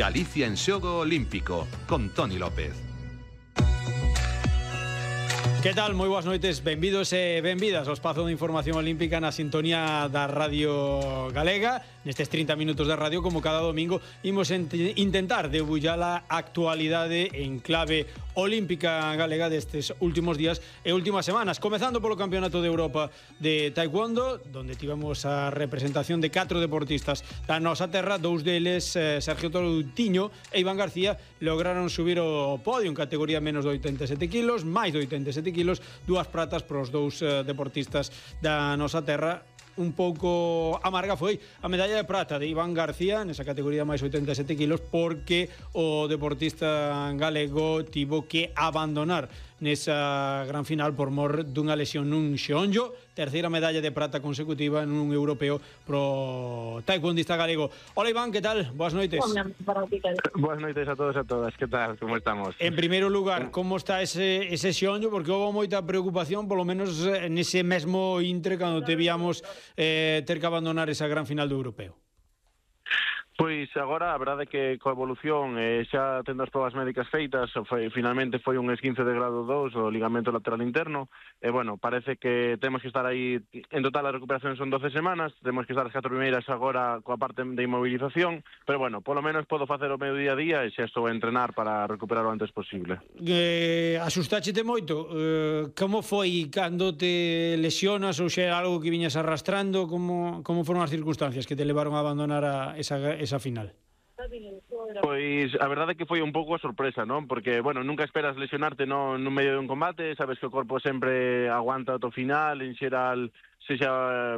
Galicia en xogo olímpico, con Toni López. Que tal? Moi boas noites, benvidos e benvidas ao espazo de información olímpica na sintonía da Radio Galega. Nestes 30 minutos de radio, como cada domingo, imos intentar debullar a actualidade en clave olímpica galega destes últimos días e últimas semanas, comezando polo Campeonato de Europa de Taekwondo, donde tivemos a representación de 4 deportistas da nosa terra. Dous deles, Sergio Toutiño e Iván García, lograron subir ao podio en categoría menos de 87 kilos, máis de 87 kilos, 2 pratas para os dous deportistas da nosa terra. Un pouco amarga foi a medalla de prata de Iván García nesa categoría máis 87 kilos, porque o deportista galego tivo que abandonar nesa gran final por mor dunha lesión nun xeonllo. Terceira medalla de prata consecutiva nun europeo pro taekwondista galego. Hola Iván, que tal? Boas noites. Boas noites a todos e a todas, que tal? Como estamos? En primeiro lugar, como está ese xeonllo? Porque houve moita preocupación, polo menos nese mesmo intre, cando te víamos ter que abandonar esa gran final do europeo. Pois agora a verdade é que coa evolución xa tendo as probas médicas feitas, finalmente foi un esguince de grado 2 o ligamento lateral interno, e bueno, parece que temos que estar aí, en total a recuperación son 12 semanas, temos que estar as 4 primeiras agora coa parte de inmovilización, pero bueno, polo menos podo facer o meu día a día e xa estou a entrenar para recuperar o antes posible. Asustáchete moito? Como foi cando te lesionas, ou xa era algo que viñas arrastrando? Como foron as circunstancias que te levaron a abandonar esa final? Pois a verdade é que foi un pouco a sorpresa, non? Porque, bueno, nunca esperas lesionarte no medio de un combate, sabes que o corpo sempre aguanta ata o final, en xeral, sexa,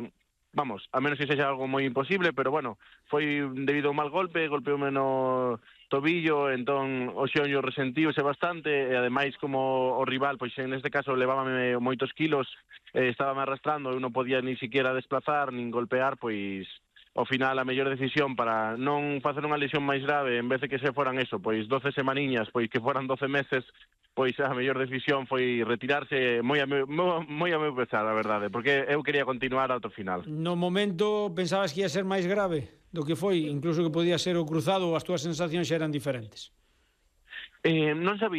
vamos, a menos que sexa algo moi imposible, pero bueno, foi debido a un mal golpe, golpeoume no tobillo, entón o xeonllo resentiuse bastante, e ademais como o rival, pois en este caso levábame moitos kilos, estábame arrastrando, eu non podía ni siquiera desplazar, nin golpear, pois ao final a mellor decisión para non facer unha lesión máis grave, en vez de que se foran eso, pois 12 semaniñas, pois que foran 12 meses, pois a mellor decisión foi retirarse moi a meu pesar, a verdade, porque eu quería continuar ata o final. No momento pensabas que ia ser máis grave do que foi, incluso que podía ser o cruzado, ou as túas sensacións xa eran diferentes? Non sabía